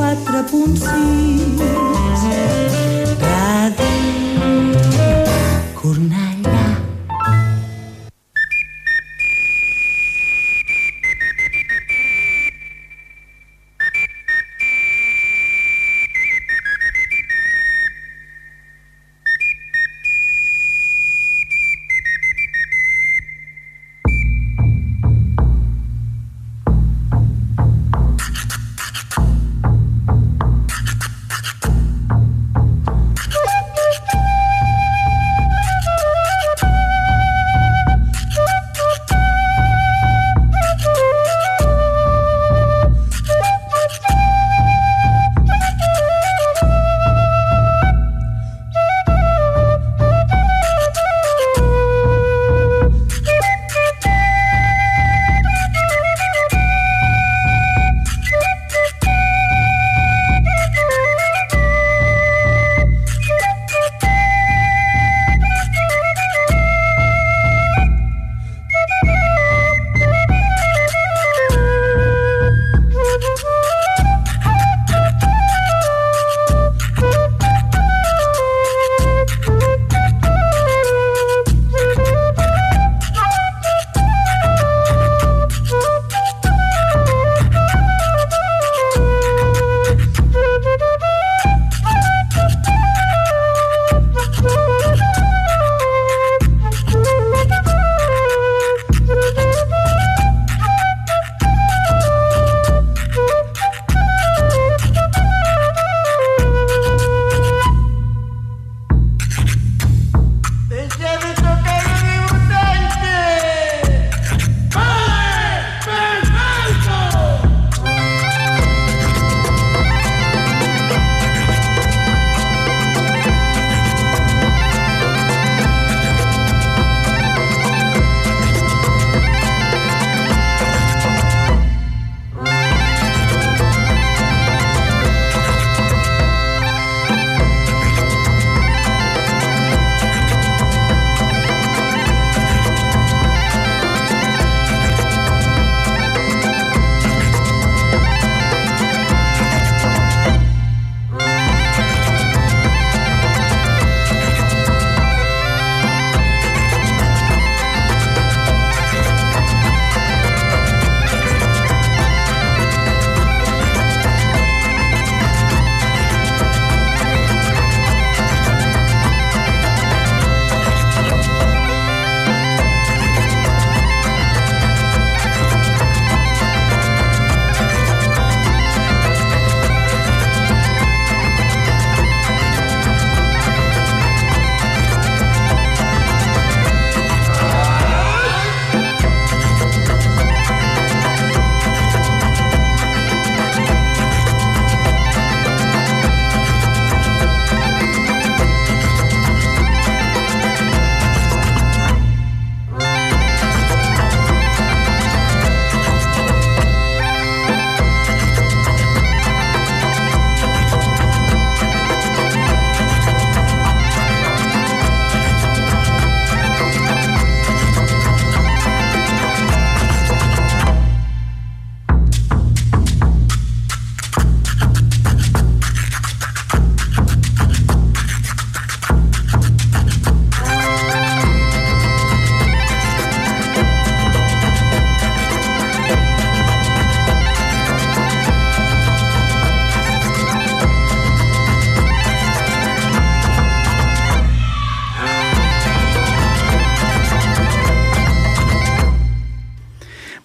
104.6 Ràdio Cornellà.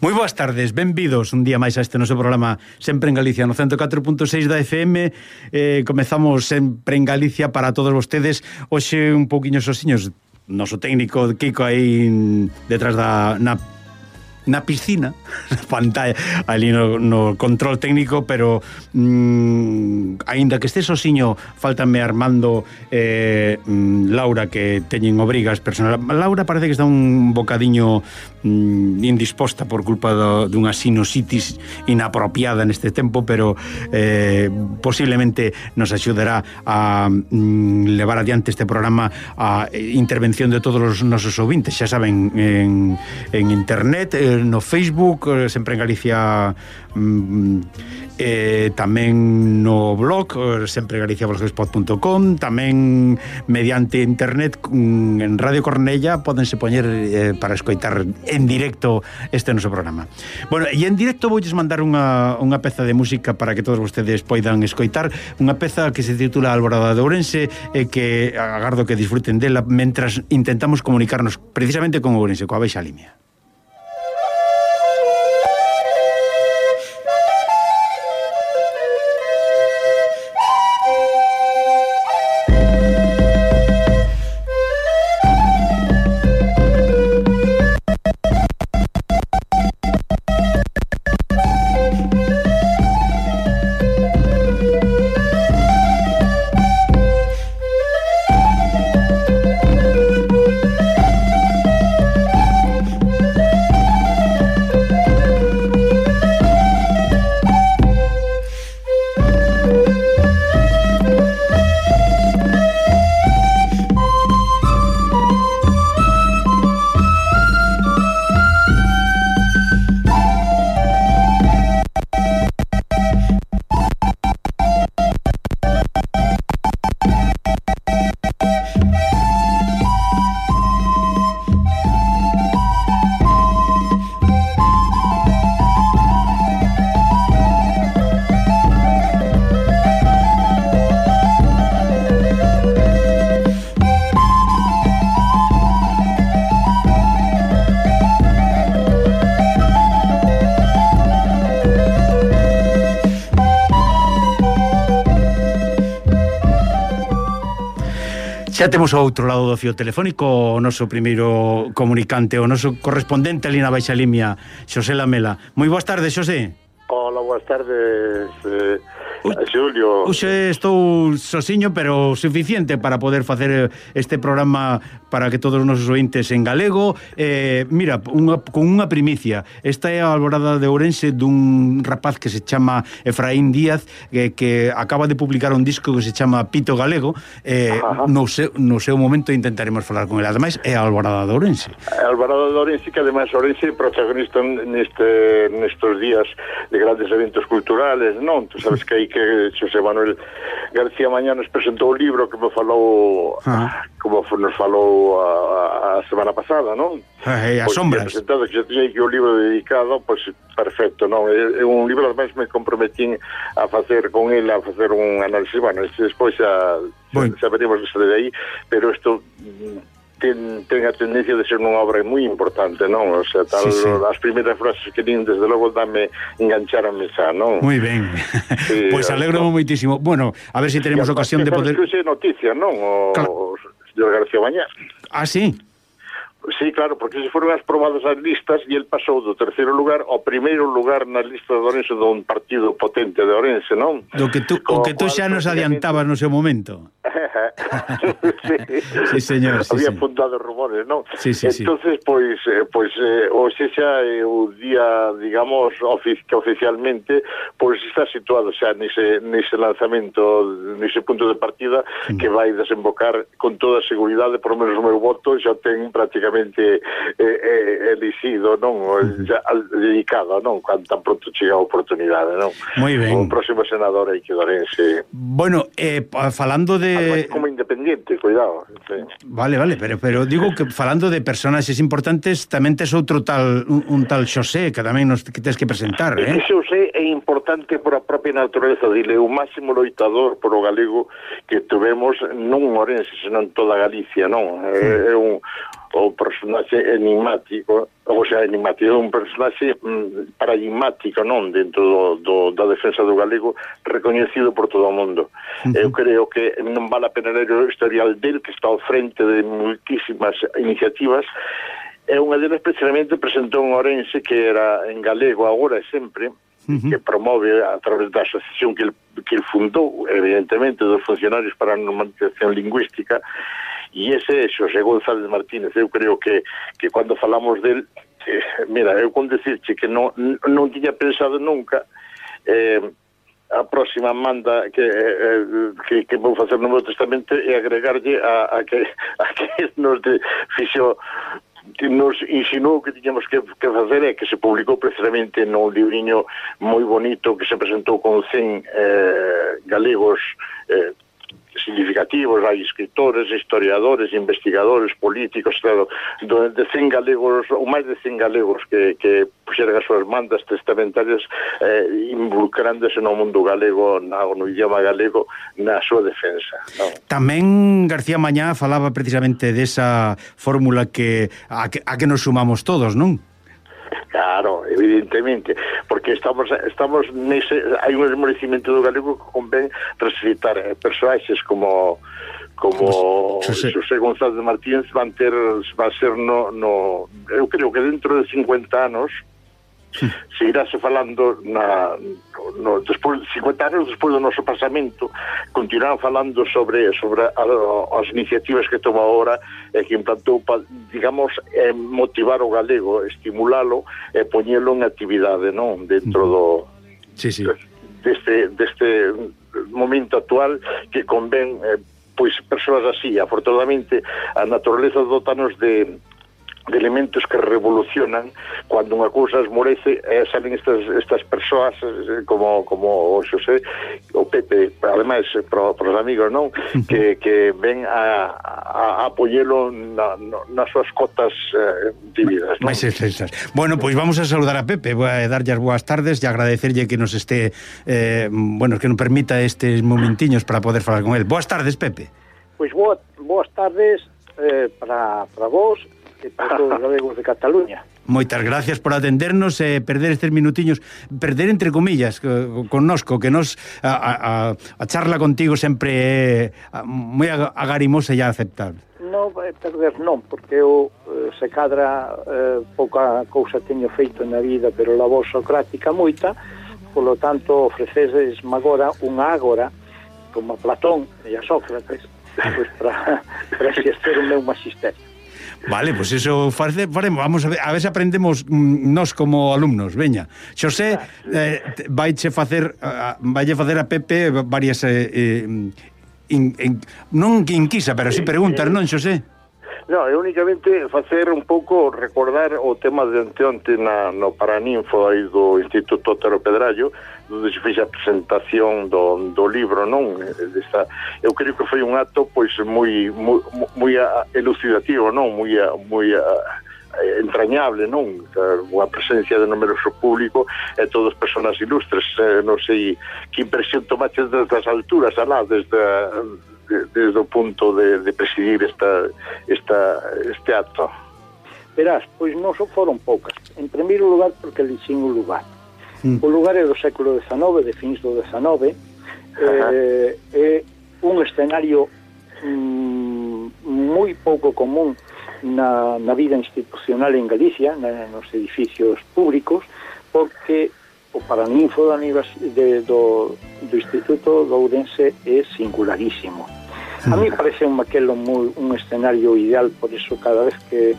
Moi boas tardes, benvidos un día máis a este noso programa Sempre en Galicia no 104.6 da FM. Comezamos Sempre en Galicia para todos vostedes. Hoxe un pouquiño sosiños, noso técnico Kiko aí detrás da na piscina, na pantalla, ali no control técnico, pero aínda que este sosiño, faltame Armando Laura, que teñen obrigas personal. Laura parece que está un bocadiño indisposta por culpa dunha sinusitis inapropiada neste tempo, pero posiblemente nos axudará a levar adiante este programa a intervención de todos os nosos ouvintes. Xa saben, en internet no Facebook, Sempre en Galicia, tamén no blog sempregaliciablogspot.com, tamén mediante internet en Radio Cornella pódense poñer para escoitar en directo este noso programa. Bueno, e en directo voulles mandar unha peza de música para que todos vostedes poidan escoitar, unha peza que se titula Alborada de Ourense, que agardo que disfruten dela mentras intentamos comunicarnos precisamente con Ourense, coa Baixa Limia. Xa temos ao outro lado do fío telefónico o noso primeiro comunicante, o noso correspondente ali na Baixa Limia, Xosé Lamela. Moi boas tardes, Xosé. Hola, boas tardes, Xulio. Hoxe estou sosiño, pero suficiente para poder facer este programa para que todos os nosos ointes en galego. Mira, con unha primicia. Esta é a Alborada de Ourense dun rapaz que se chama Efraín Díaz, que acaba de publicar un disco que se chama Pito Galego. No seu momento intentaremos falar con ele. Ademais, é a Alborada de Ourense. A Alborada de Ourense, que ademais Ourense é protagonista nestes días de grandes eventos culturales, non? Tu sabes que aí que Xosé Manuel García Mañá nos presentou o libro que me falou como nos falou a semana pasada, non? As sombras. Presentado que xa tiña aquí o libro dedicado, pois perfecto, non? É un libro, ademais me comprometín a facer con ele, a facer un análisis, bueno, despois xa veremos desde aí, pero isto ten a tendencia de ser unha obra moi importante, non? O sea, tal, sí. As primeiras frases que din, desde logo, engancharame xa, non? Moi ben. Sí, pois alegro moitísimo. Bueno, a ver se tenemos ocasión de poder... Que noticia, non? O señor García Mañá. Ah, sí? Sí, claro, porque se foron as probadas as listas e el pasou do terceiro lugar ao primeiro lugar na lista de Ourense dun partido potente de Ourense, non? O que tú xa nos adiantabas no seu momento. Sí, señor. Había apuntado rumores, non? Sí. Entonces, pois hoxe xa é o día, digamos, que oficialmente pois está situado xa nese lanzamento, nese punto de partida que vai desembocar con toda a seguridade, por lo menos o meu voto xa ten prácticamente elixido, non? Já dedicado, non? Cando tan pronto chega a oportunidade, non? Moi ben. O próximo senador aí que Ourense. Bueno, falando de... Como independiente, cuidado. Sí. Vale, pero digo que falando de personaxes importantes, tamén tes outro tal, un tal Xosé, que tamén nos que tes que presentar, Ese Xosé é importante por a propia natureza dile, o máximo loitador por o galego que tuvemos non Ourense, senón toda Galicia, non? É o personaxe enigmático, ou sea, enigmático, é un personaxe paradigmático, non? Dentro da defensa do galego, recoñecido por todo o mundo. Eu creo que non vale a pena ler o historial del, que está ao frente de moitísimas iniciativas. É unha delas precisamente presentou en Ourense, que era en galego agora e sempre, que promove a través da asociación que el fundou, evidentemente, dos funcionarios para a normalización lingüística, e ese é Xosé González Martínez. Eu creo que cando falamos del, mira, eu con decirche que non tiña pensado nunca a próxima manda que vou facer no meu testamento é agregarlle a que nos fixo que nos insinuou que tiñamos que facer é que se publicou precisamente no libriño moi bonito que se presentou con 100 galegos significativos, hai escritores, historiadores, investigadores, políticos, claro, de 100 galegos, ou máis de 100 galegos que puxeran as súas mandas testamentarias involucrándose no mundo galego, no idioma galego, na súa defensa, non? Tamén García Mañá falaba precisamente desa fórmula a que nos sumamos todos, non? Claro, evidentemente, porque estamos nese, hai un esmorecimento do galego que convén recitar personaxes como José González de Martínez van ser eu creo que dentro de 50 anos seguirase falando despois de 50 anos despois do noso pasamento, continuarán falando sobre as iniciativas que toma ahora e que implantou para, digamos, motivar o galego, estimulalo e poñelo en actividade, non? Dentro deste momento actual que convén pois persoas así. Afortunadamente a naturaleza dotanos de elementos que revolucionan cando unha cousa esmorece, salen estas persoas como o Xosé, o Pepe, ademais para os amigos, non? Que ven a apoielo nas súas cotas de vida, non? Bueno, pois vamos a saludar a Pepe, vou a darlle as boas tardes e agradecerlle que nos que nos permita estes momentiños para poder falar con él. Boas tardes, Pepe. Pois boas tardes para vos e para todos os galegos de Cataluña. Moitas gracias por atendernos e perder estes minutiños, perder entre comillas connosco, que nos a charla contigo sempre é moi agarimosa e aceptable. Non, perder non, porque eu se cadra pouca cousa teño feito na vida, pero la voz socrática moita, polo tanto ofrecedes agora unha ágora como a Platón e a Sócrates, pois para exercer o meu magisterio. Vale, pois eso faremos, vamos a ver se aprendemos nós como alumnos, veña. Xosé vaille facer a Pepe varias non inquisa, pero si preguntas, non, Xosé? Non, é únicamente facer un pouco, recordar o tema de onte no Paraninfo aí do Instituto Otero Pedrallo, onde se fez a presentación do libro, non? Eu creo que foi un acto pois moi elucidativo, non? Moi entrañable, non? Unha presencia de numeroso público e todas persoas ilustres, non sei que impresión tomaches desde as alturas, alá, desde o punto de presidir este acto. Verás, pois non foron poucas. En primeiro lugar, porque elixín un lugar. O lugar é do século XIX, de fins do XIX, é un escenario moi pouco común na vida institucional en Galicia, nos edificios públicos, porque o Paraninfo do Instituto de Ourense é singularísimo. A mí parece un escenario ideal, por eso cada vez que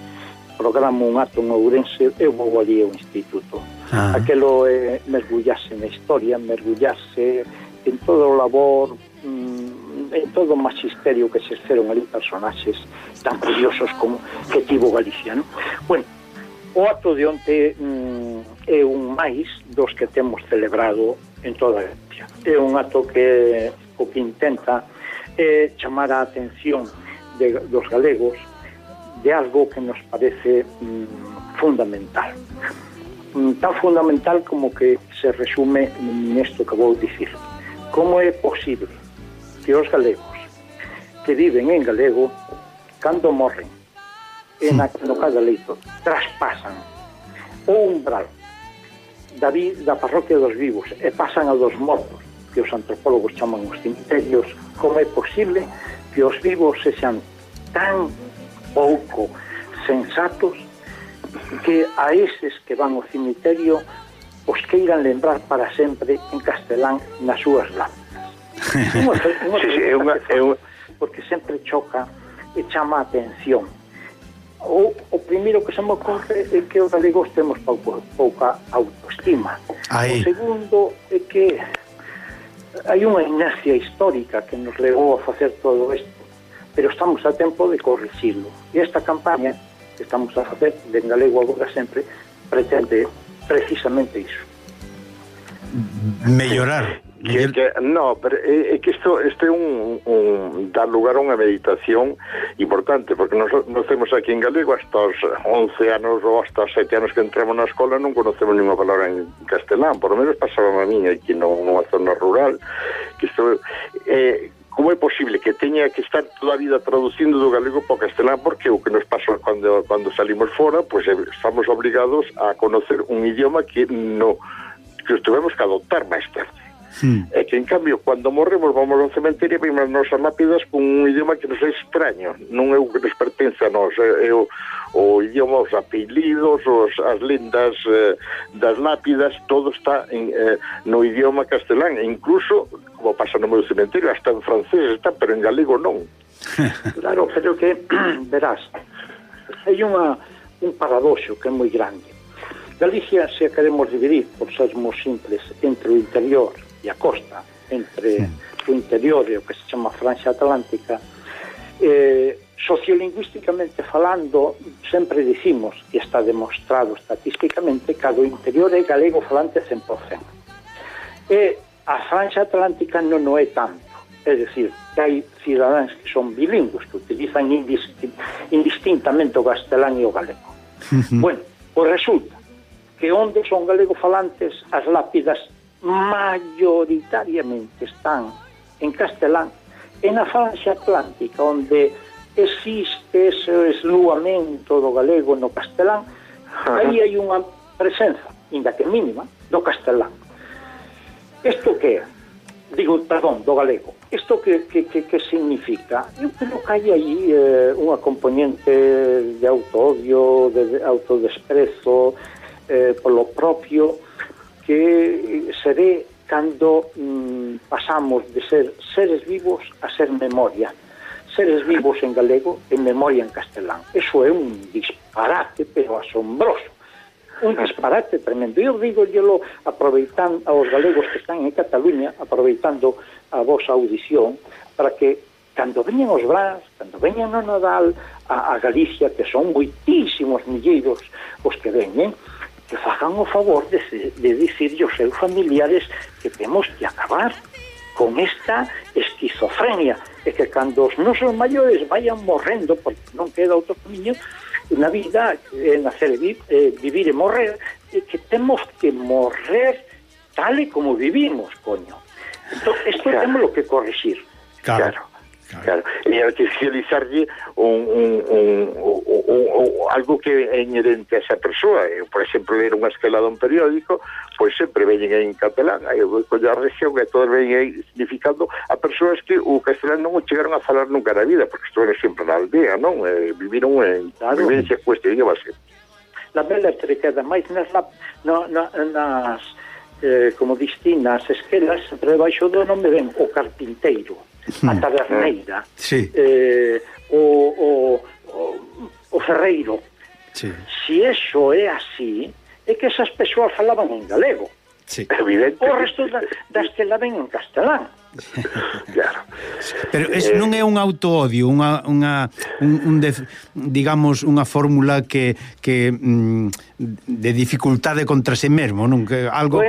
programo un acto en Ourense eu vou ali ao Instituto. Aquelo é mergullarse na historia, mergullarse en todo o labor, en todo o magisterio que se exerceron ali personaxes tan curiosos como que tivo Galicia, non? Bueno, o acto de onte é un máis dos que temos celebrado en toda Galicia. É un acto que o que intenta é chamar a atención dos galegos de algo que nos parece fundamental. Tan fundamental como que se resume nesto que vou dicir. Como é posible que os galegos que viven en galego, cando morren no cada leito, traspasan o umbral da parroquia dos vivos e pasan a dos mortos, que os antropólogos chaman os cemiterios? Como é posible que os vivos sexan tan pouco sensatos que a eses que van ao cemiterio os queiran lembrar para sempre en castelán nas súas lápidas? Porque sempre choca e chama a atención. O primeiro que se me ocorre é que os galegos temos pouca autoestima. O segundo é que hai unha inercia histórica que nos levou a facer todo isto, pero estamos a tempo de corrixirlo. E esta campaña que estamos a facer de galego agora sempre pretende precisamente iso. Mellorar. No, pero é que isto é un dar lugar a unha meditación importante, porque nos temos aquí en galego hasta os 11 anos ou hasta os 7 anos que entramos na escola non conocemos ninguna palabra en castelán, por lo menos pasaba a mí aquí nunha zona rural, que isto como é posible que teña que estar toda a vida traducindo do galego para o castelán, porque o que nos pasa cando salimos fora, pues estamos obligados a conocer un idioma que os tuvemos que adoptar máis tarde. É que en cambio cando morremos vamos ao cementerio e vimos as nosas lápidas con un idioma que nos é extraño, non é o que nos pertence a nós, é o idioma, os apelidos, as lendas das lápidas, todo está no idioma castelán, e incluso como pasa no meu cementerio, hasta en francés está, pero en galego non. Claro, pero que verás, hai un paradoxo que é moi grande. Galicia, se a queremos dividir, por sermos simples, entre o interior e a costa, entre o interior e o que se chama Franxa Atlántica, sociolingüísticamente falando, sempre dicimos, e está demostrado estatísticamente, que o interior é galego falante 100%. E a Franxa Atlántica non é tanto. É dicir, que hai cidadáns que son bilingües, que utilizan indistintamente o castelán e o galego. Bueno, pois resulta que onde son galego falantes, as lápidas mayoritariamente están en castelán, e na Franxa Atlántica, onde existe ese esluamento do galego no castelán, aí hai unha presenza, inda que mínima, do castelán. Isto que é? Digo, perdón, do galego. Isto que significa? Eu creo que hai aí unha componente de autoodio, de autodesprezo, polo propio, que se ve cando pasamos de ser seres vivos a ser memoria. Seres vivos en galego e memoria en castelán. Eso é un disparate, pero asombroso. Un disparate tremendo. Eu digo aproveitando aos galegos que están en Cataluña, aproveitando a vosa audición, para que cando veñen os Brás, cando veñen no Nadal a Galicia, que son moitísimos milleiros os que veñen, que fagan o favor de dicirlle aos seus familiares que temos que acabar con esta esquizofrenia, e que cando os nosos maiores vayan morrendo, porque non queda outro camiño na vida, nacer e vivir e morrer, e que temos que morrer tal e como vivimos, coño. Entón, isto temos que corrixir. Claro. E artificializarlle algo que é inherente a esa persoa. Eu, por exemplo, ler unha escalada un periódico, pois sempre veñen en catalán, aí eu coño a región que todos veñen aí significando a persoas que o castelán non o chegaron a falar nunca na vida, porque estuveron sempre na aldea, non? Viviron en vivencia cuesta, diga base. La bela te queda máis nas como distinas esquelas, entre debaixo do nome ven o carpinteiro, a taberneira, o ferreiro. Si eso é así, é que esas persoas falaban en galego. O resto das que la ven en castelán. Claro. Pero non é un autoodio, digamos, unha fórmula que de dificultade contra si mesmo, non? Que algo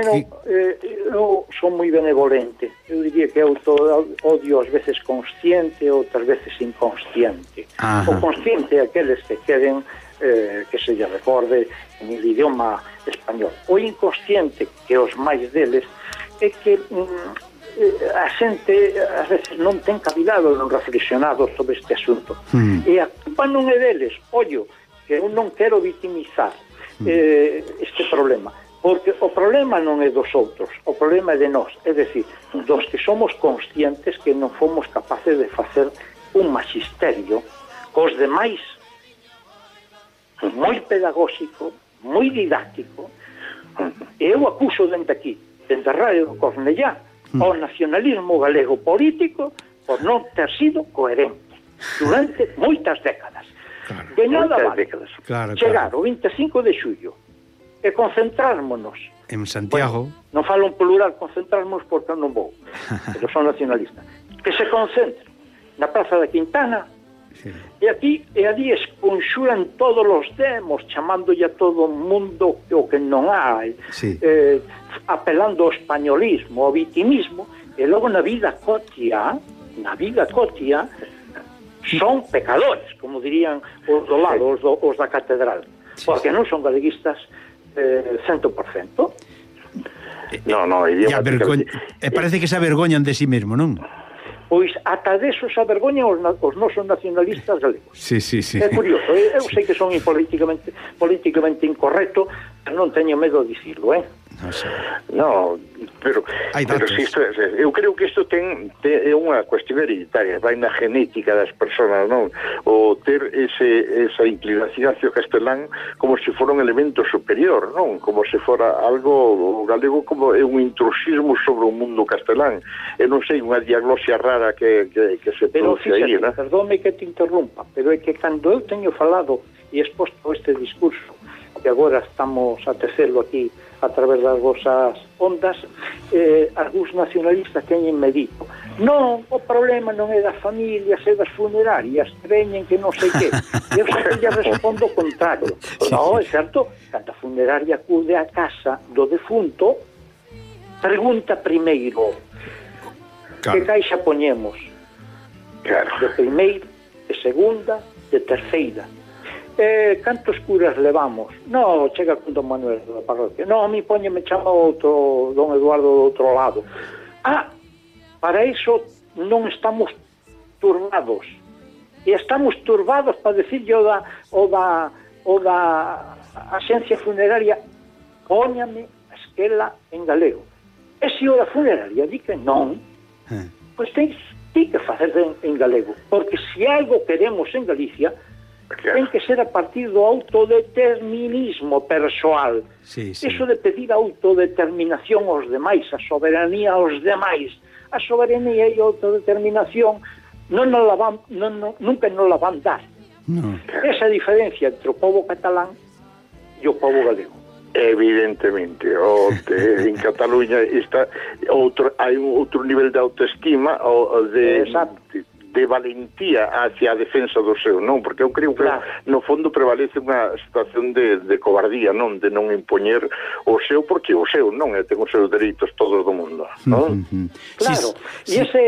eu son moi benevolente. Eu diría que autoodio ás veces consciente, outras veces inconsciente. O consciente é aqueles que queren que se lle recorde en el idioma español. O inconsciente, que os máis deles, é que a xente ás veces non ten cavidado non reflexionado sobre este asunto. E a culpa non é deles. Ollo, que eu non quero vitimizar este problema, porque o problema non é dos outros, o problema é de nós, é dicir, dos que somos conscientes que non fomos capaces de facer un magisterio cos demais moi pedagóxico, moi didáctico. E eu acuso dende aquí, dende a Radio Cornellá, ao nacionalismo galego político por non ter sido coherente durante moitas décadas. De nada vale chegar o 25 de xullo e concentrármonos en Santiago. Non falo en plural, concentrarmos porque non vou, pero son nacionalista. Que se concentre na Praza da Quintana E ali esconxuran todos os demos, chamándolle a todo o mundo o que non hai, apelando ao españolismo, ao vitimismo, e logo na vida cotia son pecadores, como dirían os do lado, os da catedral, porque non son galeguistas 100%. Parece que se avergoñan de si mesmo, non? Pois ata deso se avergoñan os nosos nacionalistas galegos. Sí. É curioso, eu sei que son políticamente incorrecto, pero non teño medo de dicirlo, No, pero si eu creo que isto é unha cuestión hereditaria, vai na genética das persoas, non? O ter esa inclinación hacia o castelán como se fora un elemento superior, non? Como se fora algo galego, como é un intrusismo sobre o mundo castelán. Eu non sei, unha diagnosia rara que se produce aí, non? Perdónme que te interrumpa, pero é que cando eu teño falado e exposto este discurso, que agora estamos a tecelo aquí a través das vosas ondas, algúns nacionalistas teñenme dito: non, o problema non é das familias, é das funerarias, que veñen que non sei que. Eu sempre lle respondo o contrario. Non, é certo, cando a funeraria acude a casa do defunto, pregunta primeiro que caixa poñemos, de primeira, de segunda, de terceira. Cantos curas levamos? No, chega con don Manuel da parroquia. No, a mí me chama outro don Eduardo do outro lado. Para iso non estamos turbados. E estamos turbados para decirlle o da axencia funeraria: póñame a esquela en galego. E se o da funeraria di que non, pois ten que facer en galego, porque se algo queremos en Galicia, ten que ser a partir do autodeterminismo persoal. Eso de pedir a autodeterminación aos demais, a soberanía aos demais. A soberanía e a autodeterminación nunca nos la van dar. Esa diferencia entre o povo catalán e o povo galego. Evidentemente, en Cataluña hai outro nivel de autoestima de valentía hacia a defensa do seu, non? Porque eu creo que no fondo prevalece unha situación de cobardía, non? De non impoñer o seu, porque o seu non ten os seus dereitos todos do mundo, non? Claro, e ese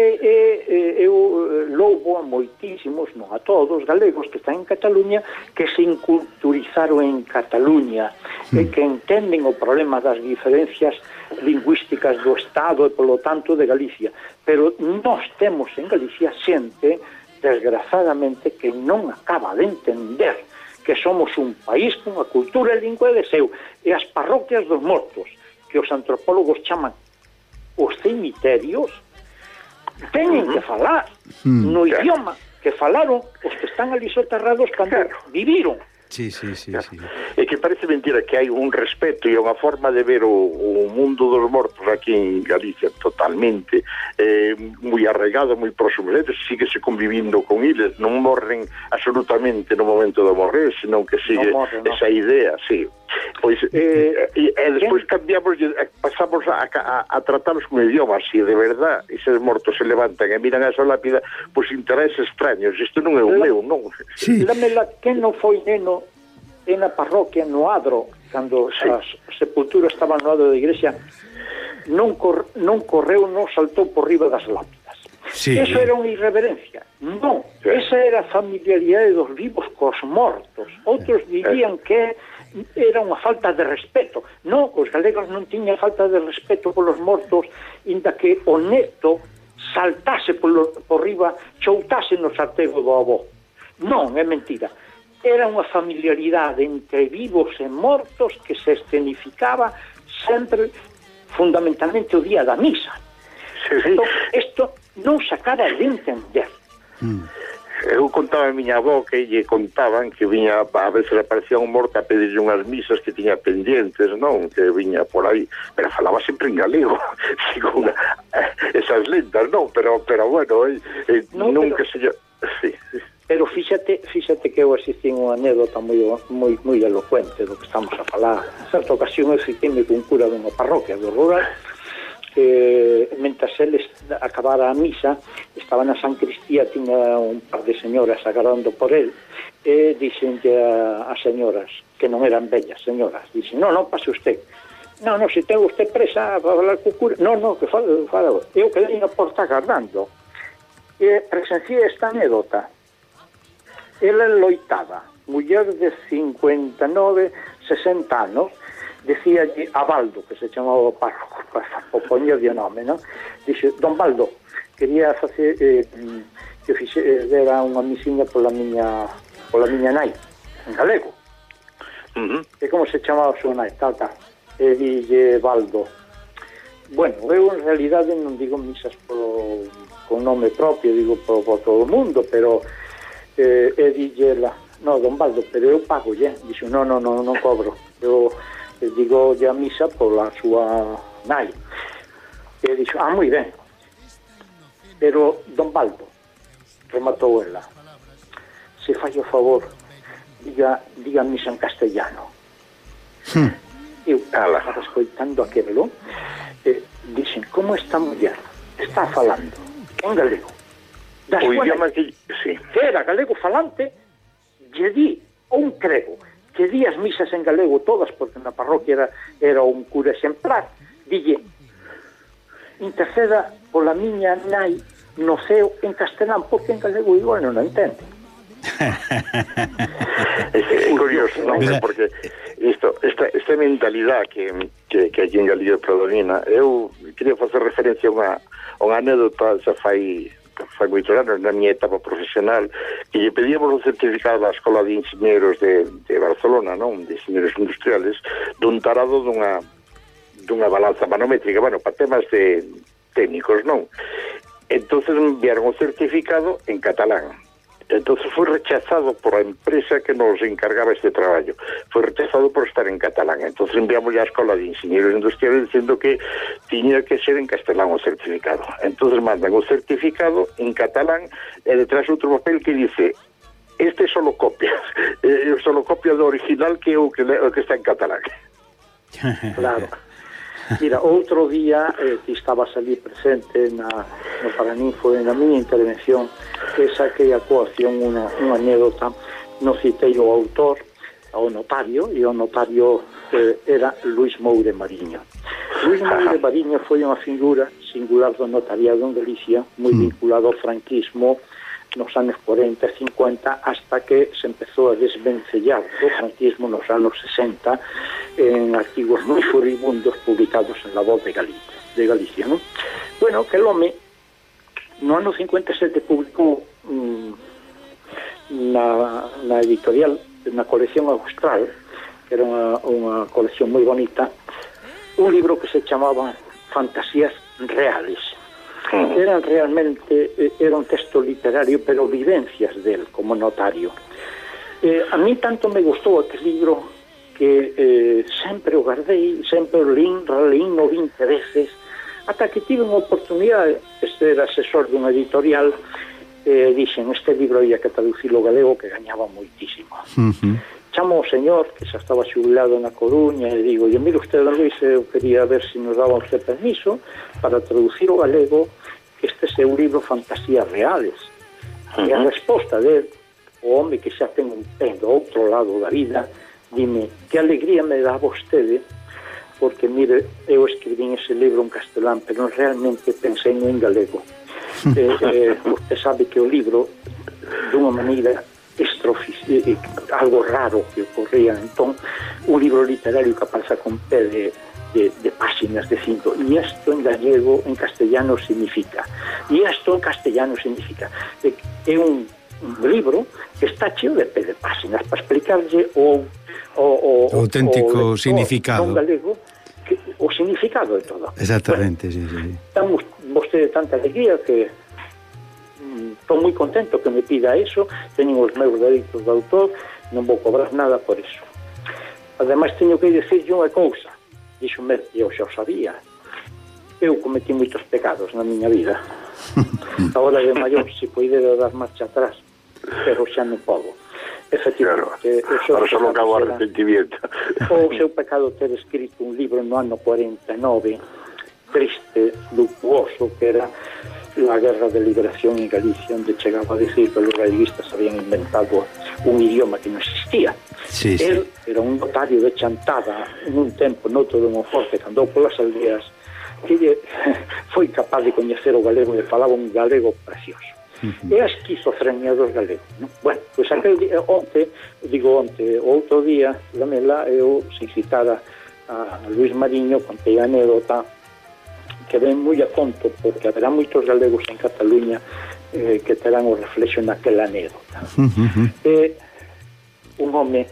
eu louvo a moitísimos, non a todos, galegos que están en Cataluña, que se inculturizaron en Cataluña, e que entenden o problema das diferencias lingüísticas do Estado e, polo tanto, de Galicia. Pero nós temos en Galicia xente, desgrazadamente, que non acaba de entender que somos un país con unha cultura e lingua de seu, e as parroquias dos mortos, que os antropólogos chaman os cemiterios, teñen que falar no idioma que falaron os que están ali soterrados cando viviron. Sí. É que parece mentira que hai un respeto e unha forma de ver o mundo dos mortos aquí en Galicia totalmente moi arraigado, moi próximo. Síguese convivindo con eles, non morren absolutamente no momento de morrer, senón que sigue esa idea, sí. Pois, e despois cambiamos, pasamos a tratarlos con idiomas. Se de verdad eses mortos se levantan e miran a esa lápida, pois intereses extraños. Isto non é o meu, non? Lámela que non foi neno en a parroquia no Adro, cando a sepultura estaba no Adro da igrexa, non correu, non saltou por riba das lápidas. Eso era unha irreverencia. Non, esa era a familiaridade dos vivos cos mortos. Outros dirían que era unha falta de respeto. Non, os galegos non tiñan falta de respeto polos mortos, inda que o neto saltase por riba, choutase no sartego do avó. Non, é mentira. Era unha familiaridade entre vivos e mortos que se escenificaba sempre, fundamentalmente, o día da misa. Isto non se acaba de entender. Eu contaba a miña avó que lle contaban que viña, a veces aparecía un morto a pedirlle unhas misas que tiña pendientes, non? Que viña por aí, pero falaba sempre en galego, según esas lendas, non? Pero bueno, nunca se... Sí. Pero fíxate que eu asistín unha anécdota moi elocuente do que estamos a falar. En certa ocasión eu fiqueime con cura dunha parroquia do rural, mentre eles acabara a misa, estaba na San Cristía, tiña un par de señoras agardando por él, e dixenlle a señoras, que non eran bellas señoras, dixen, non, pase usted. Non, se ten usted presa para falar co cura. Non, que fala. Eu quedei na porta agardando. E presenciei esta anécdota. Ela loitaba, muller de 59, 60 anos, decíalle a Baldo, que se chamaba o párroco, para poñerlle o nome, non? Dixe, don Baldo, quería facer que fixera unha misiña pola miña nai, en galego. E como se chamaba a súa nai, tal. E dille Baldo, bueno, eu en realidade non digo misas con nome propio, digo por todo o mundo, pero e dille ela, no, don Baldo, pero eu pago, dixo, non cobro, eu digo a misa pola súa nai. E dixo, moi ben, pero don Baldo, rematou ela, se fai o favor, diga misa en castellano. Eu estaba escoitando aquelo, dixen, como esta muller está falando en galego, o idioma que era galego falante, lle di un crego que di as misas en galego todas, porque na parroquia era un cura exemplar, dille, interceda pola miña nai no ceo en castelán, porque en galego igual non o entende. É curioso, non? Porque esta mentalidade que aquí en Galicia predomina, eu quería facer referencia a unha anécdota xa fai moitos anos na miña etapa profesional, que lle pedíamos un certificado da Escola de Ingenieros de Barcelona, non? De Ingenieros Industriales, dun tarado dunha balanza manométrica, bueno, para temas técnicos, non? Entonces enviaron o certificado en catalán. Entonces foi rechazado por a empresa que nos encargaba este traballo. Foi rechazado por estar en catalán. Entonces enviamos a Escola de Ingenieros Industriales diciendo que tiña que ser en castelán o certificado. Entonces mandan o certificado en catalán e detrás outro papel que dice, este é solo copia, solo copia do original que está en catalán. Claro. Mira, outro día que estabas ali presente no Paraninfo, na miña intervención, que saquei a coacción unha anécdota, no citei o autor, ao notario, e o notario era Luis Moure Mariño. Luis Moure Mariño foi unha figura singular do notariado en Galicia, moi vinculado ao franquismo nos anos 40 e 50, hasta que se empezou a desvencellar do franquismo nos anos 60 en artigos moi furibundos publicados en La Voz de Galicia, non? Bueno, que el home no ano 57 publicou na editorial, na colección Austral, que era unha colección moi bonita, un libro que se chamaba Fantasías Reales. Era un texto literario, pero vivencias del como notario. A mí tanto me gustou aquel libro que sempre o guardei, sempre o releín 20 veces, ata que tive unha oportunidade de ser asesor dunha editorial, dixen, este libro ia que traducilo galego, que gañaba moitísimo. Chamo o señor, que xa estaba xubilado na Coruña, e digo, mire usted, don Luis, eu quería ver se nos daba usted permiso para traducir o galego, que este é un libro Fantasías Reales. E a resposta dele, o home que xa ten un pé do outro lado da vida, dime, que alegría me dá vostede, porque, mire, eu escribín ese libro en castelán, pero realmente pensei en galego. Usted sabe que o libro, dunha maneira algo raro que ocorría, entón, un libro literario que pasa con pé de páxinas de 5, e isto en gallego, en castellano significa, e isto en castellano significa, é un libro que está cheo de pé de páxinas para explicarlle o auténtico significado galego, o significado de todo. Exactamente, bueno, sí. Estamos vostede tanta alegría que estou moi contento que me pida eso, teño os meus dereitos de autor, non vou cobrar nada por eso. Ademais, teño que dicirlle unha cousa, díxome, eu xa o sabía, eu cometí moitos pecados na miña vida. Agora de maior, se poidera dar marcha atrás, pero xa non podo. Efectivamente, claro, só acabo arrepentimiento. O seu pecado ter escrito un libro no ano 49, triste, luctuoso, que era la guerra de liberación en Galicia, onde chegaba a decir que los galeguistas habían inventado un idioma que non existía. Sí, sí. Él era un notario de Chantada en un tempo noto de Monforte, que andou polas aldeas, que foi capaz de coñecer o galego e falaba un galego precioso. É a esquizofrenia dos galegos, non? Bueno, pois aquel día, onte, outro día, Lamela, eu se citara a Luis Mariño, contei a anécdota que ven moi a conto, porque haberá moitos galegos en Cataluña que terán o reflexo naquela anécdota. Un home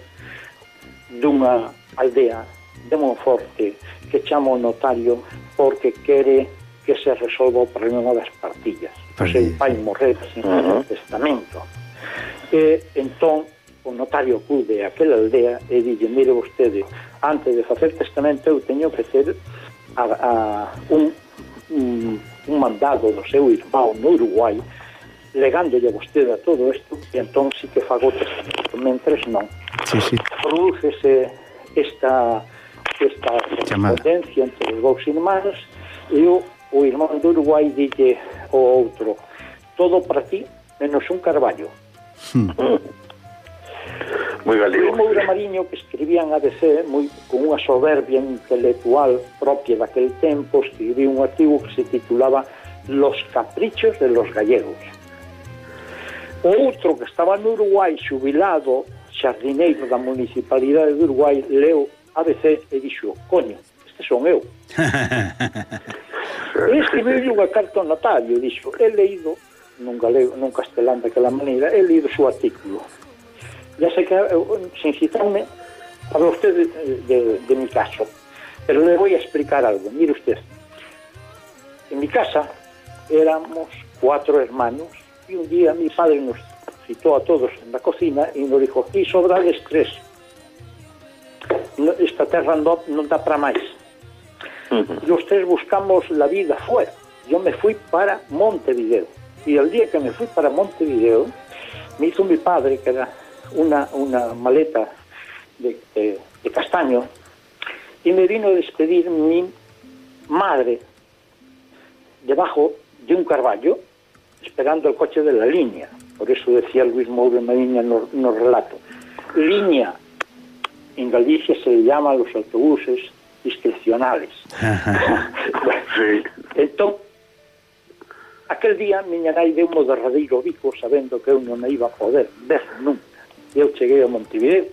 dunha aldea de Monforte que chama o notario porque quere que se resolva o problema das partillas. O seu pai morreu sin testamento. Entón, o notario acude a aquela aldea e dille, mire vostede, antes de facer testamento eu teño que ter un mandado do seu irmão no Uruguai legándolle a vostede a todo isto, e entón sí que fago testamento, mentres non. Sí. Prodúcese esta correspondencia entre os dous irmáns, e o irmán do Uruguai dille ao outro, todo para ti menos un carballo. Moi galego. O Moura Mariño, que escribía en ABC con unha soberbia intelectual propia daquel tempo, escribiu un artigo que se titulaba Los caprichos de los gallegos. O outro que estaba no Uruguai, xubilado, xardineiro da municipalidade de Uruguai, leu ABC e dixo, coño, este son eu. E escribiu unha carta ao notario, dixo, he leído nun galego, nun castelán daquela maneira, he leído o seu artículo. Ya sé que, sin citarme, para usted de mi caso, pero le voy a explicar algo. Mire usted, en mi casa éramos 4 hermanos y un día mi padre nos citó a todos en la cocina y nos dijo, aquí sobrades 3. Esta terra non dá para máis. Los 3 buscamos la vida fuera. Yo me fui para Montevideo. Y el día que me fui para Montevideo, me hizo mi padre, que era una maleta de castaño, y me vino a despedir mi madre debajo de un carballo, esperando el coche de la línea. Por eso decía Luis Moura Mariño no relato. Línea, en Galicia se le llama a los autobuses discrecionales. Sí. Entón, aquel día miña nai deu mo derradeiro bico sabendo que eu non a iba a poder ver nunca. Eu cheguei a Montevideo.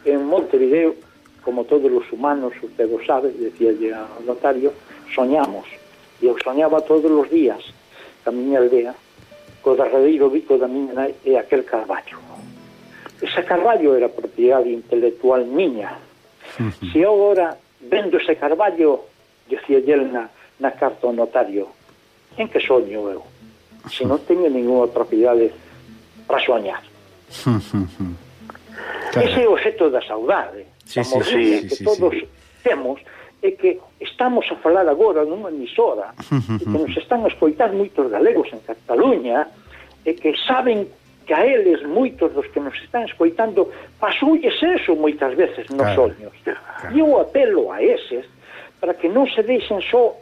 En Montevideo, como todos os humanos, usted o sabe, decía ao notario, soñamos. E eu soñaba todos os días que a miña aldea, co derradeiro bico da miña nai e aquel carballo. Ese carballo era propiedade intelectual miña. Se eu agora vendo ese carballo, decía el na carta ao notario, en que soño eu? Se non teño ninguna propiedade para soñar. Claro. Ese é o efecto da saudade, da morriña que todos temos, é que estamos a falar agora nunha emisora e que nos están a escoitar moitos galegos en Cataluña e que saben que a eles, moitos dos que nos están escoitando, pasoules eso moitas veces nos soños. E eu apelo a eses para que non se deixen só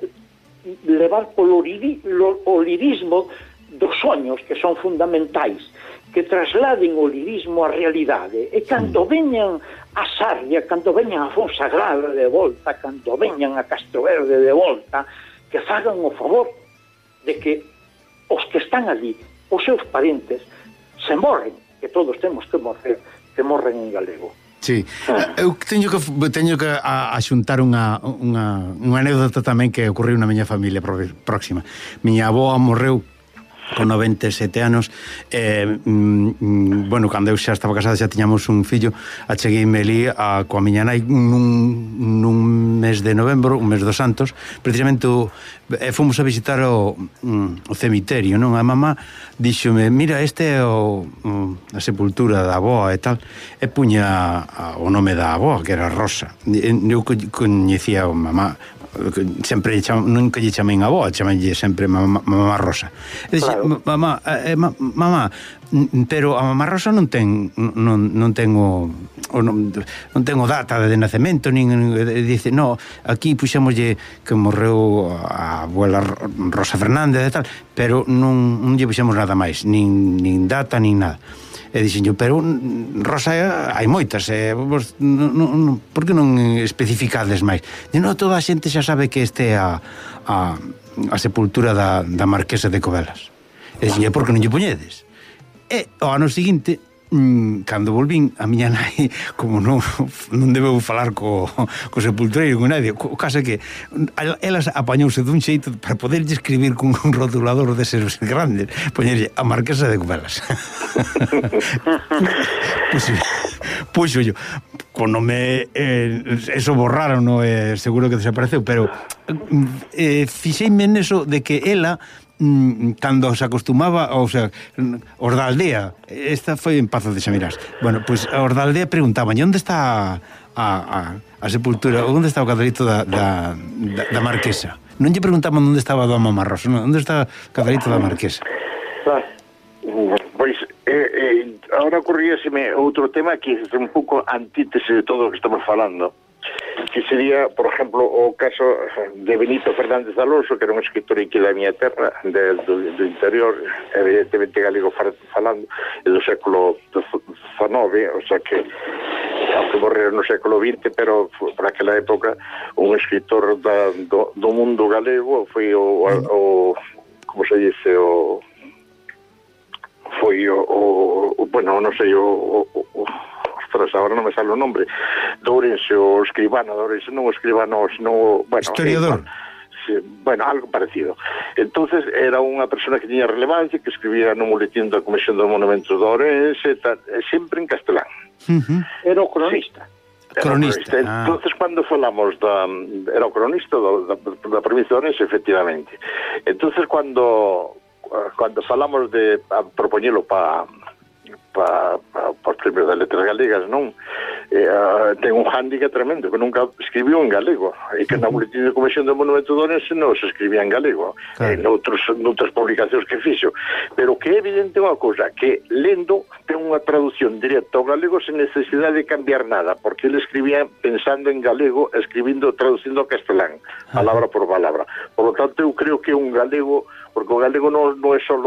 levar polo lirismo dos soños, que son fundamentais, que trasladen o lirismo á realidade, e cando veñan a Sarria, cando veñan a Fonsagrada de volta, cando veñan a Castroverde de volta, que fagan o favor de que os que están ali, os seus parentes, se morren, que todos temos que morrer, que morren en galego. Sí, eu teño que axuntar unha anécdota tamén que ocorreu na miña familia próxima. Miña avoa morreu con 97 anos, bueno, cando eu xa estaba casada, xa tiñamos un fillo, achegueime ali coa miña nai nun mes de novembro, un mes dos Santos, precisamente fomos a visitar o cemiterio, non? A mamá díxome, mira, este é a sepultura da avoa e tal, e puña o nome da avoa, que era Rosa. Eu coñecía a mamá, sempre nunca lle chamei avó, chamalle sempre mamá Rosa. E dixe, Claro. mamá, pero a mamá Rosa non tengo data de nacemento, nin dice, no, aquí puxémoslle que morreu a abuela Rosa Fernández e tal, pero non lle puxemos nada máis, nin data, nin nada. E dixenyo, pero Rosa hai moitas, vos, por que non especificades máis? E non, toda a xente xa sabe que este é a sepultura da Marquesa de Covelas. E dixenyo, por que non lle poñedes? E o ano seguinte, cando volvín, a miña nai, como non debeu falar co sepultureiro, con nadie, o caso é que elas apañouse dun xeito para poderlle escribir con un rotulador deses grandes, poñerlle a Marquesa de Covelas. Puxo yo, con nome eso borraron, no, seguro que desapareceu, pero fixeime neso de que ela, cando se acostumaba, o sea, os da aldea, esta foi en Pazo de Xamirás, bueno, pois pues, os da aldea preguntaban, onde está a sepultura, onde está o cadarito da Marquesa? Non lle preguntaban onde estaba a Mamá Rosa, non, onde está o cadarito da Marquesa? Pois, ahora ocurríaseme outro tema que é un pouco antítese de todo o que estamos falando, que sería, por exemplo, o caso de Benito Fernández de Alonso, que era un escritor aquí da miña terra, do interior, evidentemente galego falando, e do século XIX, o sea que aunque morreu no século XX, pero por aquela época un escritor do mundo galego foi o como se dice, bueno, non sei, ostras, agora non me sale o nombre, de Ourense, o escribano de Ourense, non o escribano, sino, bueno, historiador. Bueno, algo parecido. Entonces era unha persona que tiña relevancia, que escribía no boletín da Comisión dos Monumentos de Ourense, sempre en castelán. Era o cronista. Cronista. Entonces, cando falamos era o cronista da provincia de Ourense, efectivamente. Entonces, cando falamos de propoñelo para os premios das letras galegas, non? Ten un hándicap tremendo, que nunca escribiu en galego, e que na boletín de Comisión do Monumento de Ourense non se escribía en galego, noutras publicacións que fixo, pero que é evidente unha cousa, que lendo ten unha traducción directa ao galego sen necesidade de cambiar nada, porque ele escribía pensando en galego, traducindo ao castelán, palabra por palabra. Por lo tanto, eu creo que un galego, porque o galego non é só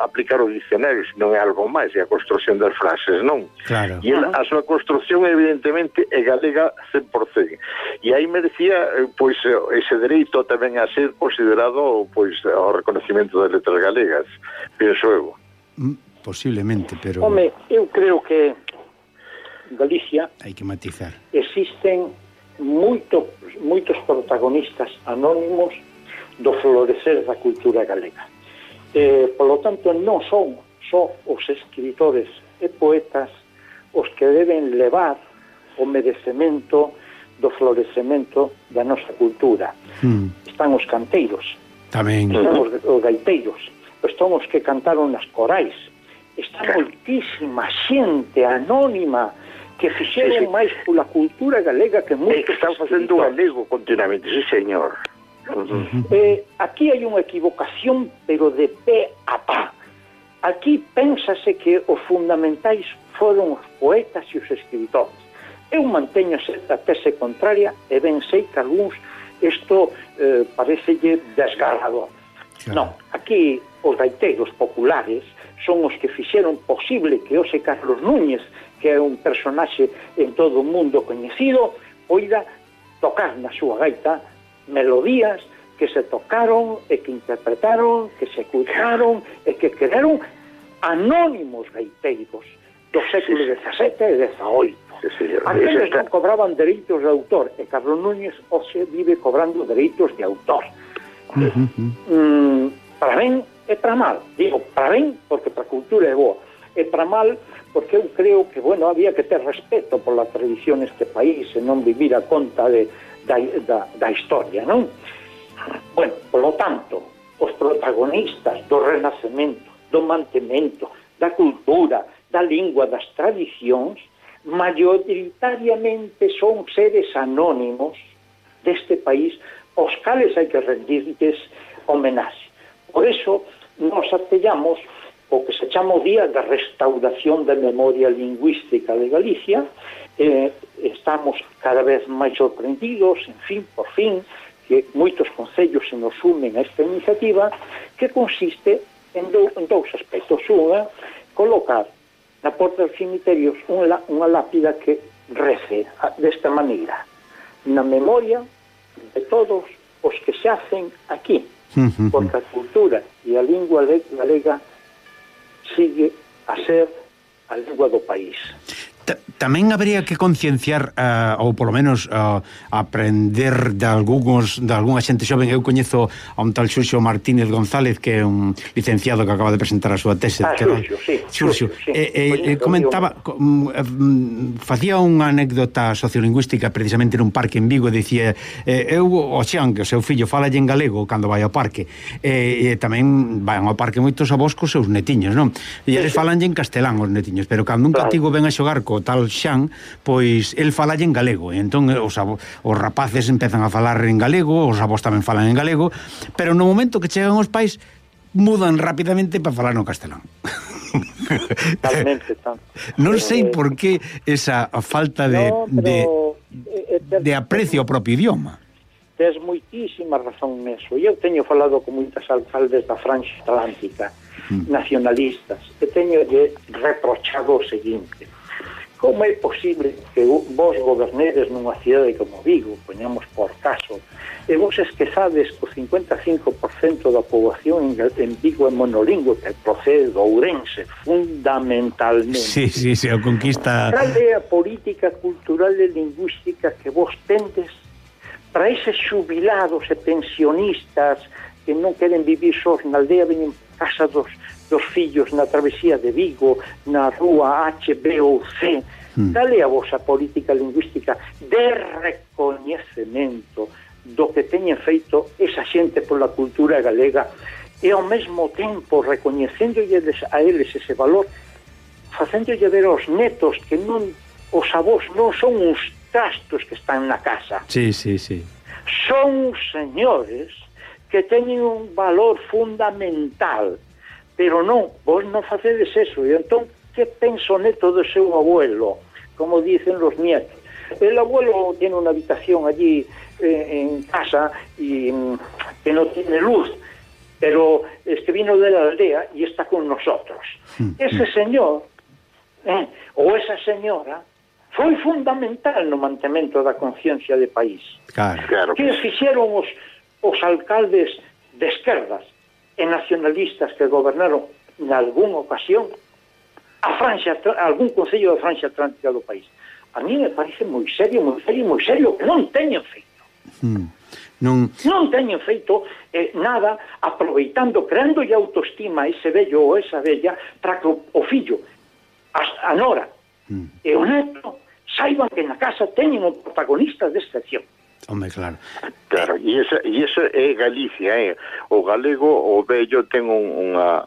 aplicar o dicionario, sino é algo máis, é a construción das frases, non? Claro. E a súa construción, evidentemente, é galega 100%. E aí merecía, pois, ese dereito tamén a ser considerado, pois, ao reconocimiento das letras galegas, penso eu. Posiblemente, pero... Home, eu creo que en Galicia hai que matizar. Existen moitos protagonistas anónimos do florecer da cultura galega. Polo tanto, non son só os escritores e poetas os que deben levar o merecemento do florecemento da nosa cultura. Están os canteiros, tamén. están os gaiteiros, están os que cantaron nas corais, está moitísima xente anónima que fixeron máis pola cultura galega que moitos que están facendo galego continuamente, sí, señor. Aquí hai unha equivocación, pero de pé a pá. Aquí pénsase que os fundamentais foron os poetas e os escritores. Eu manteño certa tese contraria e ben sei que algúns isto parecelle desgarrador. Claro. Non, aquí os gaiteiros populares son os que fixeron posible que Ose Carlos Núñez, que é un personaxe en todo o mundo coñecido, poida tocar na súa gaita melodías que se tocaron e que interpretaron, que se escutaron e que quedaron anónimos gaiteiros do século XVII e XVIII. Aqueles non cobraban dereitos de autor e Carlos Núñez hoxe vive cobrando dereitos de autor. Para ben e para mal. Digo, para ben porque para a cultura é boa, e para mal porque eu creo que, bueno, había que ter respeto pola tradición neste país e non vivir a conta da historia, non? Bueno, polo tanto, os protagonistas do renacemento, do mantemento, da cultura, da lingua, das tradicións, maioritariamente son seres anónimos deste país aos cales hai que rendirles homenaxe. Por eso nos atellamos o que se chama o Día da Restauración da Memoria Lingüística de Galicia. Estamos cada vez máis sorprendidos, en fin, por fin, que moitos concellos se nos unen a esta iniciativa, que consiste en dous aspectos. Unha, colocar na porta dos cemiterios unha lápida que rece desta maneira: na memoria de todos os que se hacen aquí, porque a cultura e a lingua galega sigue a ser a lingua do país. Tamén habría que concienciar ou polo menos aprender de algunha xente xoven. Eu coñezo a un tal Xurxo Martínez González, que é un licenciado que acaba de presentar a súa tese. Xurxo, comentaba, facía unha anécdota sociolingüística precisamente nun parque en Vigo, e dicía, o Xan, que o seu fillo falalle en galego cando vai ao parque, e tamén van ao parque moitos avós cos seus netiños, non? E eles falanlle en castelán os netiños, pero cando un cativo ven a xogar co tal Xan, pois el falalle en galego, e entón os rapaces empezan a falar en galego, os avós tamén falan en galego, pero no momento que chegan os pais mudan rapidamente para falar no castelán. Talmente. Non sei por que esa falta de aprecio ao propio idioma. Tes moitísima razón neso. Eu teño falado con moitas alcaldes da Franxa Atlántica, nacionalistas, e teño reprochado o seguinte: como é posible que vos gobernedes nunha cidade como Vigo, poñamos por caso, e vos esquezades que o 55% da poboación en Vigo é monolingüe, que procede do Ourense, fundamentalmente? Sí, a conquista... Cal é a política cultural e lingüística que vos tendes para eses xubilados e pensionistas que non queren vivir sós na aldea, veñen casa dos fillos na travesía de Vigo, na rúa H, B ou C? Cal é a vosa política lingüística de recoñecemento do que teñen feito esa xente pola cultura galega, e ao mesmo tempo recoñecéndolle a eles ese valor, facéndolle ver aos netos que non, os avós non son uns trastos que están na casa. Sí. Son uns señores que teñen un valor fundamental. Pero non, vos non facedes eso. E entón, que pensa o neto do seu abuelo? Como dicen los nietos. El abuelo tiene una habitación allí en casa y que no tiene luz, pero es que vino de la aldea y está con nosotros. Ese señor ou esa señora foi fundamental no mantemento da conciencia de país. Claro. Que fixeron os alcaldes de esquerdas e nacionalistas que gobernaron en algunha ocasión algún concello da Franxa Atlántica do país? A mí me parece moi serio que non teñen feito. Non teñen feito nada, aproveitando, creándolle autoestima a ese vello ou esa vella, para que o fillo, a nora e o neto saiban que na casa teñen un protagonista de excepción. Home, claro, e esa é Galicia, o galego, o vello ten unha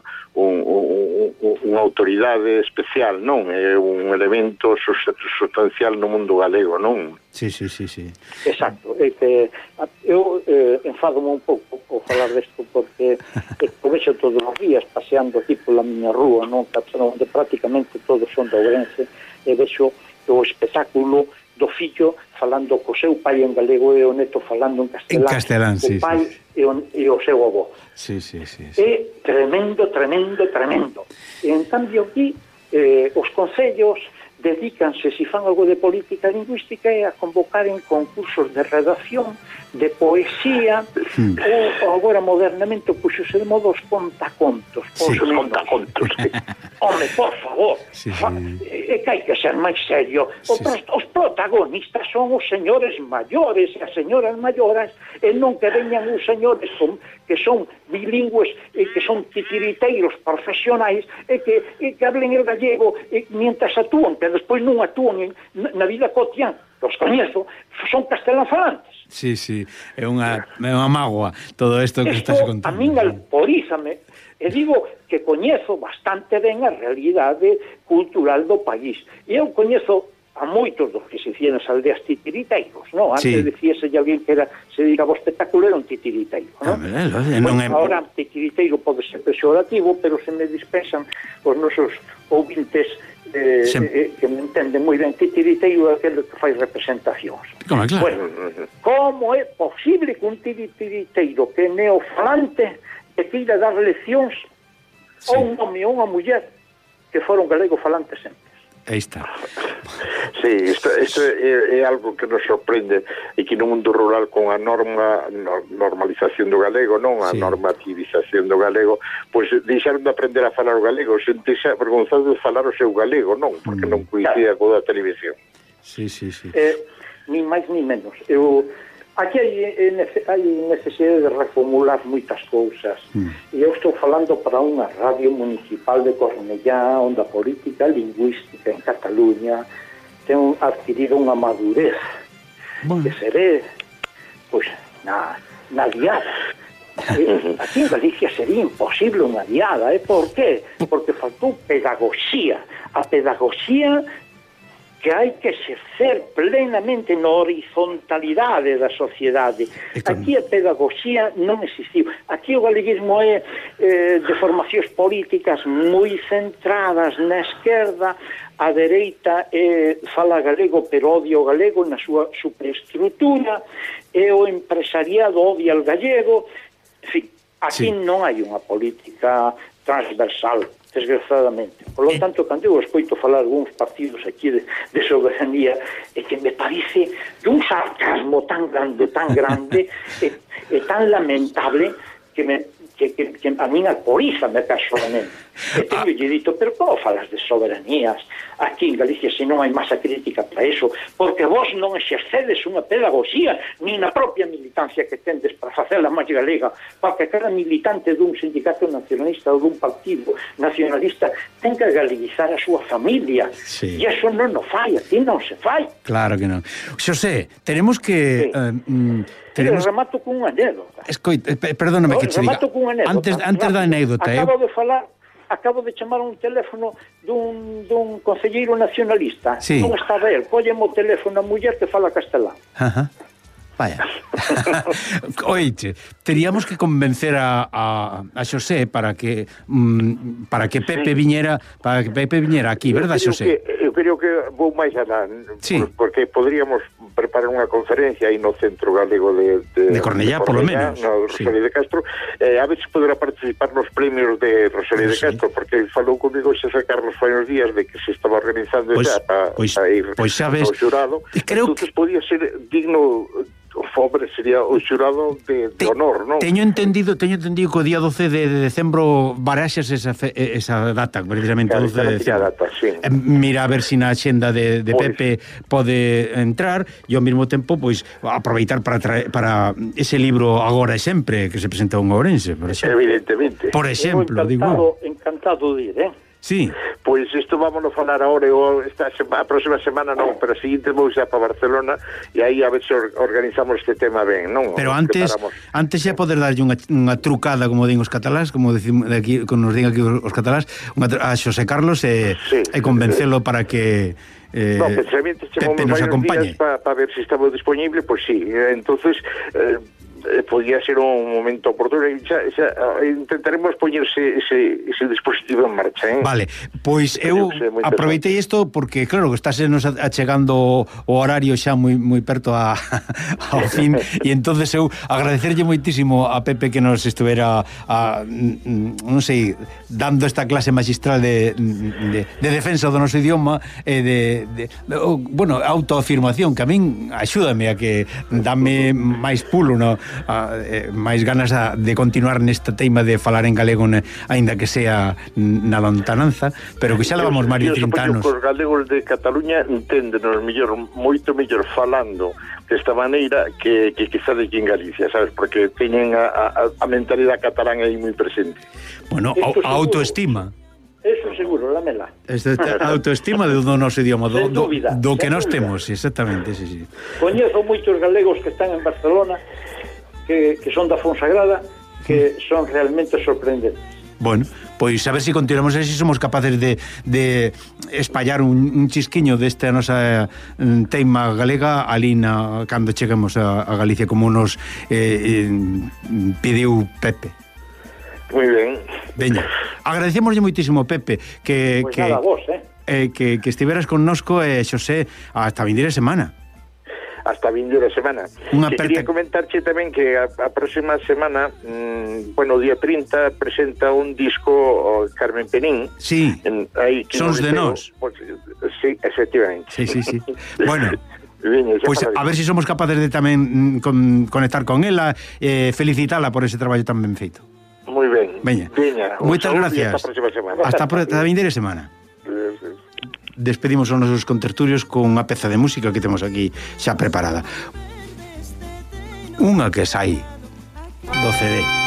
autoridade especial, non? É un elemento sustancial no mundo galego, non? Sí. Exacto, é que eu enfádome un pouco ao falar desto, porque o vexo todos os días paseando aquí pola miña rúa, non? Onde prácticamente todos son de Ourense, e vexo o espectáculo do fillo falando co seu pai en galego e o neto falando en castelán, sí, o pai e o seu avó. Sí. É tremendo. E en cambio aquí os concellos dedícanse, se fan algo de política lingüística, a convocar en concursos de redacción, de poesía, ou agora modernamente puxose de modo os contacontos. Home, por favor, é que hai que ser máis serio. Os protagonistas son os señores maiores e as señoras maiores, e non que veñan os señores que son bilingües e que son titiriteiros profesionais e que hablen el gallego mientras actúan, que despois non actúan na vida cotidiana. Os coñezo, son castelanfalantes. Sí, é unha mágoa todo isto que estás contando. A min alporízame, e digo que coñezo bastante ben a realidade cultural do país. E eu coñezo a moitos dos que se dicían nas aldeas titiriteiros, non? Antes Sí. decíase alguén que se dedicaba ao espectáculo era un titiriteiro, non? Non é... Ahora, titiriteiro pode ser pejorativo, pero se me dispensan os nosos ouvintes que me entenden moi ben, titiriteiro é aquele que fai representacións. Como, claro. Bueno, como é posible que un titiriteiro que é neofalante que queira dar leccións a un home ou unha muller que foron galego falantes sempre? Aí está. Sí, isto é algo que nos sorprende e que no mundo rural con a normalización do galego, non a normativización do galego, pois deixaron de aprender a falar o galego, sentese avergonzado de falar o seu galego, non, porque non coincida co da televisión. Sí. Ni máis ni menos. Aquí hai necesidade de reformular moitas cousas. E eu estou falando para unha radio municipal de Cornellá, onde a política lingüística en Cataluña ten adquirido unha madurez que seré pois na diada. Aquí en Galicia sería imposible unha diada. Por qué? Porque faltou pedagogía. A pedagogía que hai que exercer plenamente na horizontalidade da sociedade. Aquí a pedagogía non existiu. Aquí o galeguismo é de formacións políticas moi centradas na esquerda, a dereita fala galego pero odia o galego na súa superestrutura, e o empresariado odia o gallego. En fin, aquí non hai unha política transversal, desgraciadamente. Por lo tanto, cando eu escoito falar algúns partidos aquí de soberanía, é que me parece dun sarcasmo tan grande e tan lamentable que a min alporízame personalmente. E teño lle dito, pero como falas de soberanías aquí en Galicia se non hai masa crítica para eso? Porque vos non exercedes unha pedagogía ni na propia militancia que tendes para facela máis galega, porque cada militante dun sindicato nacionalista ou dun partido nacionalista ten que galeguizar a súa familia. E eso non o fai, aquí non se fai. Claro que non. Xosé, tenemos que... Remato cun anécdota. Perdóname que che diga. Antes da anécdota, acabo de chamar un teléfono dun concelleiro nacionalista. Non estaba el, colleme o teléfono a muller que fala castelán. Vaya. Oite, teríamos que convencer a Xosé para que Pepe viñera aquí, verdad, Xosé? Eu creo que vou máis alá, porque podríamos preparar unha conferencia aí no Centro Galego de Cornellá, polo menos, no Rosalía de Castro, a ver se poderá participar nos premios de Rosalía de Castro, porque falou comigo Xosé Carlos fai uns días de que se estaba organizando xa para ir ao xurado. Entonces podía ser digno... O pobre sería o xurado de honor, non? Teño entendido que o día 12 de decembro baraxas esa data, precisamente o 12 de decembro. Mira a ver se na axenda de Pepe pode entrar e ao mesmo tempo pois aproveitar para ese libro Agora e Sempre que se presenta un ourense, por exemplo. Evidentemente. Por exemplo, digo. Encantado de ir, Sí. Pois isto vámonos falar agora, a próxima semana non, pero a seguinte vou xa para Barcelona e aí a ver se organizamos este tema ben, non? Pero antes xa poder darlle unha trucada, como din os catalás, como decimos aquí, como nos din aquí os catalás, a Xosé Carlos e convencelo para que Pepe nos acompañe. Para ver se estamos disponible, pois sí. Entonces podía ser un momento oportuno e xa intentaremos poñerse ese dispositivo en marcha, Vale, pois eu aproveitei isto porque claro, que estáse nos achegando o horario xa moi perto ao fin e entonces eu agradecerlle moitísimo a Pepe que nos estuvera non sei, dando esta clase magistral de defensa do noso idioma e de autoafirmación que a min axúdame a que dame máis pulo, máis ganas de continuar nesta teima de falar en galego aínda que sea na lontananza, pero que xa levamos máis de 30 anos. Os galegos de Cataluña enténdenos moito mellor falando desta maneira que quizá de aquí en Galicia, sabes, porque teñen a mentalidade catalán aí moi presente. Bueno, a autoestima. Eso seguro, lámela. A autoestima do noso idioma, do que nós temos, exactamente, sí. Coñezo moitos galegos que están en Barcelona que son da Fonsagrada, que son realmente sorprendentes. Bueno, pois a ver se continuamos e se somos capaces de espallar un chisquiño desta nosa teima galega ali cando cheguemos a Galicia, como nos pediu Pepe. Moi ben. Veña, agradecemoslle moitísimo, Pepe, que nada, vos, que estiveras connosco, Xosé, hasta vindeira semana. Hasta vindeira semana. Quería comentarche tamén que a próxima semana, bueno, o día 30 presenta un disco Carmen Penín. Sí, Sons de Nós. Pues, sí, efectivamente. Sí. Bueno, pois a ver se somos capaces de tamén conectar con ela, felicitala por ese traballo tan ben feito. Moi ben. Veña, moitas gracias. Hasta a próxima semana. Hasta a vindeira semana. Despedimos os nosos contertulios con unha peza de música que temos aquí xa preparada. Unha que sai do CD.